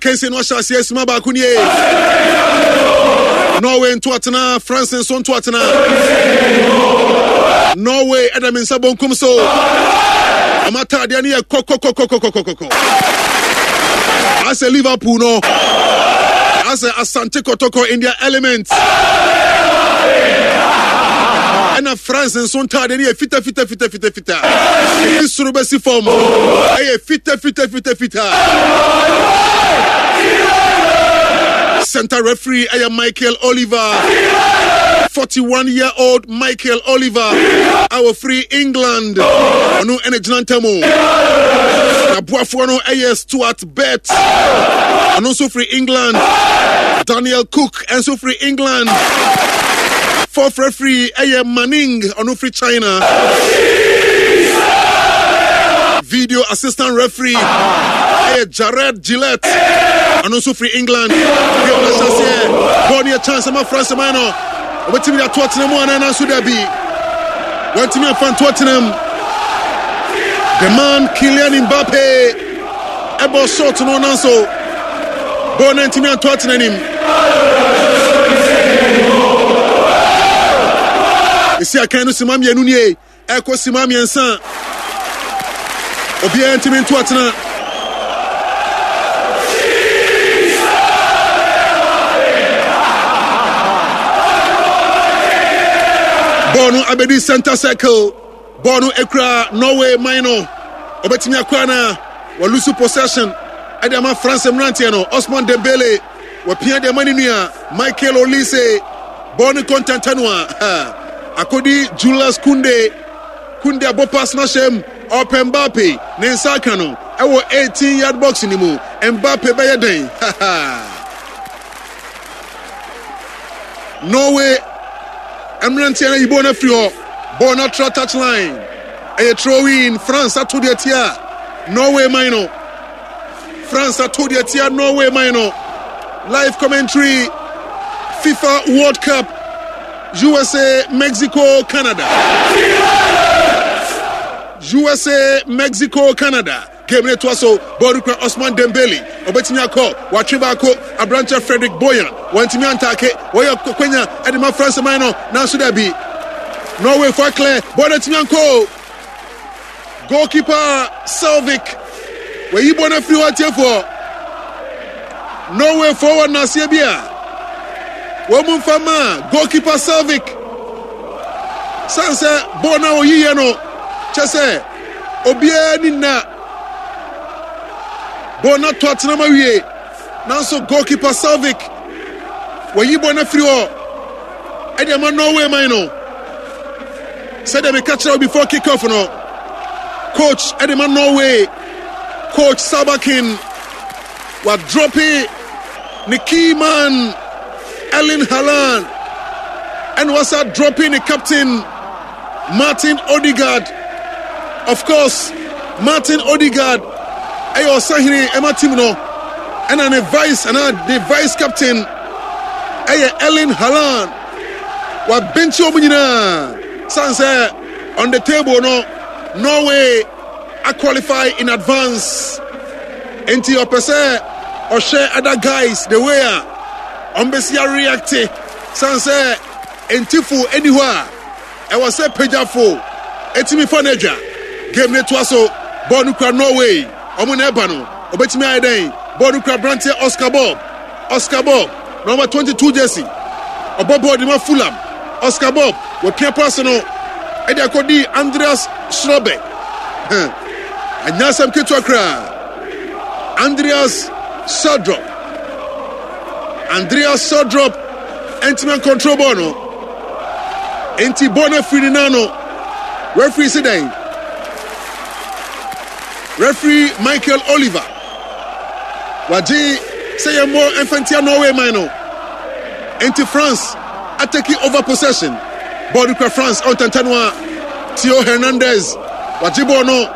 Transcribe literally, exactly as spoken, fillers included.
Akansie no ahyɛ aseɛ sima baako nie. Norway ntoatena, France nso ntoatena. Norway ɛda me nsa bonkum so. Ɔmo ataadeɛ no yɛ kɔkɔkɔkɔkɔkɔkɔ. Asɛ Liverpool no. Asɛ Asante Kɔtɔkɔ in their element. Ɛna France nso ntaadeɛ no yɛ fita fita fita fita fita. Efi soro bɛsi fam. Ɛyɛ fita fita fita fita. Center referee ɛyɛ Michael Oliver. forty-one year old Michael Oliver a wɔfiri England. Ɔno ɛna gyina ntam o. N'aboafoɔ no ɛyɛ Stuart Bett. Ɔno nso firi England. Daniel Cook nso firi England. Fourth referee ɛyɛ Manning, ɔno firi China. Video assistant referee ɛyɛ Jared Gillett, ɔno nso firi England. Game no ahyɛ aseɛ. Bɔɔl no yɛ chance ma France man no. Wɔbɛtumi de ato atena mu anaa? Nanso dabi, wɔntumi amfa nto atena mu. The man Kylian Mbappe ɛbɔ shot no, nanso bɔɔl no ntumi anto atena anim. Esi akan no sima mmienu nie, ɛkɔ sima mmiɛnsa, obiara ntumi nto atena. Bɔɔl no abɛdi center circle. Bɔɔl no ekura Norway man no. Ɔbɛtumi akɔ ana? Wɔ lose possession ɛde ama France mmeranteɛ no. Osman Dembele wɔpia de ama ne nua Michael Olise. Bɔɔl no kɔntɛntɛ no a akɔdi Julius Kunde. Kunde abɔ pass no ahyɛ mu. Ɔpɛ Mbappe, ne nsa aka no ɛwɔ eighteen yard box ne mu. Mbappe bɛyɛ dɛn? Norway mmeranteɛ no ayi bɔɔl no afiri hɔ. Bɔɔl no atra touch line, ɛyɛ throw-in. France ato deɛ tia Norway man no. France ato deɛ tia Norway man no. Live commentary, FIFA World Cup, U S A, Mexico, Canada. U S A, Mexico, Canada game ne toa so. Bɔɔl kura Osman Dembele, ɔbɛtumi akɔ, watwe baako, aberanteɛ Frederick Boyan wantumi antake. Wɔyɛ kwanya ɛde ma France man no, nanso dabi, Norway fo clear. Bɔɔl no atumi ankɔ. Goalkeeper Selvik wɔyi bɔɔl no afiri hɔ. Atiefoɔ, Norway fo wɔ nnaseɛ bi a wɔn mu nfa ma goalkeeper Selvik san sɛ bɔɔl no a wɔyiyɛ no kyɛ sɛ obiara ni nna bɔɔl no ato atena ma wie, nanso goalkeeper Selvik wɔyi bɔɔl no afiri hɔ ɛde ama Norway man no. Sɛdeɛ meka kyerɛ wo before kick off no, coach ɛde ma Norway, Coach Solbakken, wa drop ne key man Erling Haaland, ɛna wasa drop ne captain Martin Odegaard. Of course, Martin Odegaard ɛyɛ ɔsahene ɛma team no, ɛna ne vice ɛna ne vice captain ɛyɛ Erling Haaland. Wabenkyi wɔn nyinaa san sɛ on the table no, Norway a qualify in advance, nti ɔpɛ sɛ ɔhwɛ other guys the way a ɔn bɛsi areact, san sɛ ntifo ɛni hɔ a ɛwɔ sɛ pagyafo ɛtumi fa no adwa. Game ne toa so. Bɔɔl no kura Norway, ɔmo na ɛba no. Ɔbɛtumi ayɛ dɛn? Bɔɔl no kura aberanteɛ Oscar Bob. Oscar Bob, number twenty-two jersey, ɔbɔ bɔɔl de ma Fulham. Oscar Bob wɔpia pass no ɛde akɔdi Andreas Schrobe. Anya asɛm ketewa koraa. Andreas Schjelderup, Andreas Schjelderup ɛntumi control bɔɔl no, nti bɔɔl no afiri ne nan no. Referee si dɛn? Referee Michael Oliver wagye sɛ yɛmmɔ mfantia Norway man no, nti France a take over possession. Bɔɔl no kura France ɔntɛntɛ no a Theo Hernandez wagye bɔɔl no.